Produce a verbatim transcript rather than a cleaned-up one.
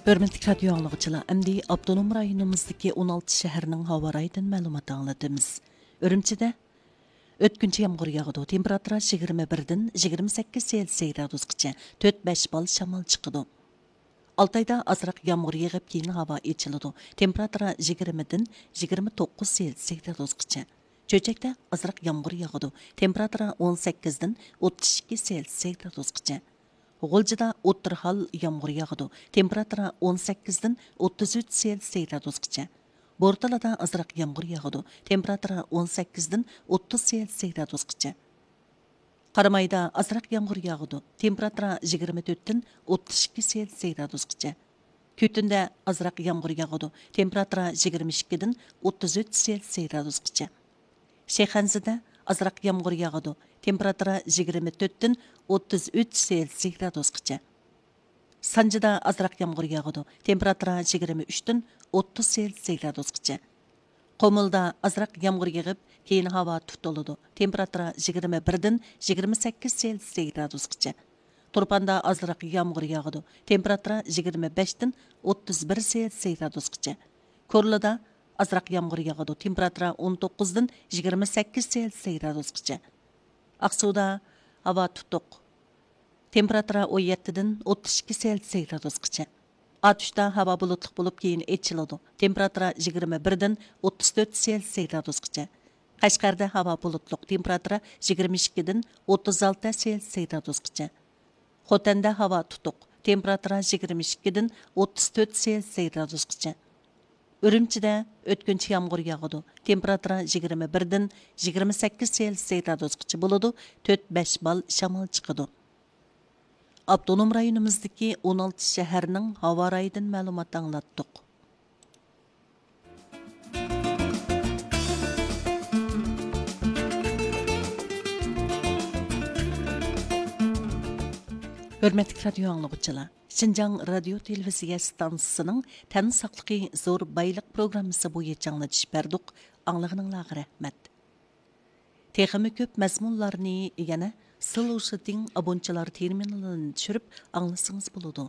ھۆرمەتلىك رادىيو ئاڭلىغۇچىلار، ئەمدى ئاپتونوم رايونىمىزدىكى ئون ئالتە شەھەرنىڭ ھاۋا رايىدىن مەلۇمات ئاڭلىتىمىز. ئۈرۈمچىدە ئۆتكۈنچى يامغۇر ياغىدۇ. تېمپېراتۇرا يىگىرمە بىردىن يىگىرمە سەككىز سېلسىيە گرادۇسقىچە، تۆت بەش بال شامال چىقىدۇ. ئالتايدا ئازراق يامغۇر يېغىپ، كېيىن ھاۋا ئېچىلىدۇ. تېمپېراتۇرا يىگىرمىدىن يىگىرمە توققۇز سېلسىيە گرادۇسقىچە. چۆچەكتە ئازراق يامغۇر ياغىدۇ. تېمپېراتۇرا ئون سەككىزدىن ئوتتۇز ئىككى سېلسىيە گرادۇسقىچە. غۇلجىدا ئوتتۇرا ھال يامغۇر ياغىدۇ. تېمپېراتۇرا ئون سەككىزدىن ئوتتۇز ئۈچ سېلسىيە گرادۇسقىچە. بورتالادا ئازراق يامغۇر ياغىدۇ. تېمپېراتۇرا ئون سەككىزدىن ئوتتۇز سېلسىيە گرادۇسقىچە. قارامايدا ئازراق يامغۇر ياغىدۇ. تېمپېراتۇرا يىگىرمە تۆتتىن ئوتتۇز ئىككى سېلسىيە گرادۇسقىچە. كۈتۈندە ئازراق يامغۇر ياغىدۇ. تېمپېراتۇرا يىگىرمە ئىككىدىن ئوتتۇز ئۈچ سېلسىيە گرادۇسقىچە. شىخەنزىدە ئازراق يامغۇر ياغىدۇ. تېمپېراتۇرا يىگىرمە تۆتتىن ئوتتۇز ئۈچ سېلسىيە گرادۇسقىچە. سانجىدا ئازراق يامغۇر ياغىدۇ. تېمپېراتۇرا يىگىرمە ئۈچتىن ئوتتۇز سېلسىيە گرادۇسقىچە. قۇمۇلدا ئازراق يامغۇر يېغىپ، كېيىن ھاۋا تۇتۇلىدۇ. تېمپېراتۇرا يىگىرمە بىردىن يىگىرمە سەككىز سېلسىيە گرادۇسقىچە. تۇرپاندا ئازراق يامغۇر ياغىدۇ. تېمپېراتۇرا يىگىرمە بەشتىن ئوتتۇز بىر سېلسىيە گرادۇسقىچە. كورلىدا ئازراق يامغۇر ياغىدۇ. تېمپېراتۇرا ئون توققۇزدىن يىگىرمە سەككىز سېلسىيە گرادۇسقىچە. ئاقسۇدا ھاۋا تۇتۇق. تېمپېراتۇرا ئون يەتتىدىن ئوتتۇز ئىككى سېلسىيە گرادۇسقىچە. ئاتۇشتا ھاۋا بۇلۇتلۇق بولۇپ، كېيىن ئېچىلىدۇ. تېمپېراتۇرا يىگىرمە بىردىن ئوتتۇز تۆت سېلسىيە گرادۇسقىچە. قەشقەردە ھاۋا بۇلۇتلۇق، تېمپېراتۇرا يىگىرمە ئىككىدىن ئوتتۇز ئالتە سېلسىيە گرادۇسقىچە. خوتەندە ھاۋا تۇتۇق، تېمپېراتۇرا يىگىرمە ئىككىدىن ئوتتۇز تۆت سېلسىيە گرادۇسقىچە. ئۈرۈمچىدە ئۆتكۈنچى يامغۇر ياغىدۇ. تېمپېراتۇرا يىگىرمە بىردىن يىگىرمە سەككىز سېلسىيە گرادۇسقىچە بولىدۇ، تۆت بەش بال شامال چىقىدۇ. ئاپتونوم رايونىمىزدىكى ئون ئالتە شەھەرنىڭ ھاۋا رايىدىن مەلۇمات ئاڭلاتتۇق. ھۆرمەتلىك رادىيو ئاڭلىغۇچىلار، شىنجاڭ رادىيو تېلېۋىزىيە ئىستانسىسىنىڭ تەن ساقلىقى زور بايلىق پروگراممىسى بويىچە ئاڭلىتىش بەردۇق، ئاڭلىغىنىڭلارغا رەھمەت. تېخىمۇ كۆپ مەزمۇنلارنى يەنە سلوشىتىڭ ئابونچىلار تېرمىنالىنى چۈشۈرۈپ ئاڭلىسىڭىز بولىدۇ.